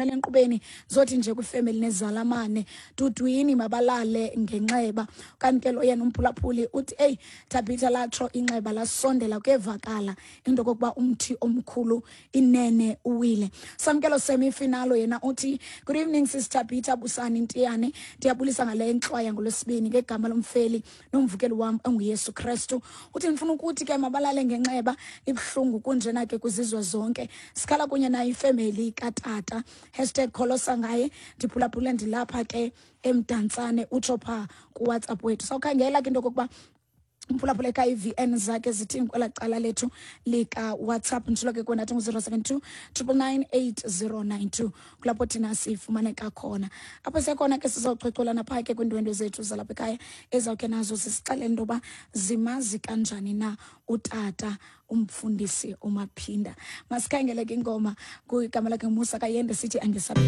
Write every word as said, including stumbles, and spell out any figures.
Enkqubeni zothi nje kwifemeli nezalamane dudwini mabalale ngenxeba. Kanti ke lo yena umphulaphuli uthi, "Eyi Thabitha, latsho inxeba lasondela, kuyevakala into okokuba umthi omkhulu inene uwile." Samkelo semifinalo yena uthi, "Good evening, Sis Thabitha, Busani Ntiyane. Ndiyabulisa ngale ntlwaya ngolwesibini ngegama lomfeli nomvukeli wam onguYesu Krestu." Uthi, "Ndifuna ukuthi ke mabalale ngenxeba, ibuhlungu kunjena ke kwizizwe zonke, sikhala kunye nayo ifemeli katata, hashtag kholosa ngaye. Ndiphulaphule ndilapha ke eMdantsane." Utsho phaa kuWhatsApp wethu. Sawukhangela ke into okokuba umphulaphula ekhaya i-V N zakhe zithini kwelaa cala lethu likaWhatsApp. Nditshilo ke kwenathi ngu-zero seven two triple nine eight zero nine two, kulapho thina sifumaneka khona. Apho siyakhona ke sizawuchwechwelana phaa ke kwiindwendwe zethu zalapha ekhaya, ezawukhe nazo zisixelele into yoba zimazi kanjani na utata umfundisi uMaphinda. Masikhangele ke ingoma, kwigama lakhe Musa Kayende, sithi angesabi.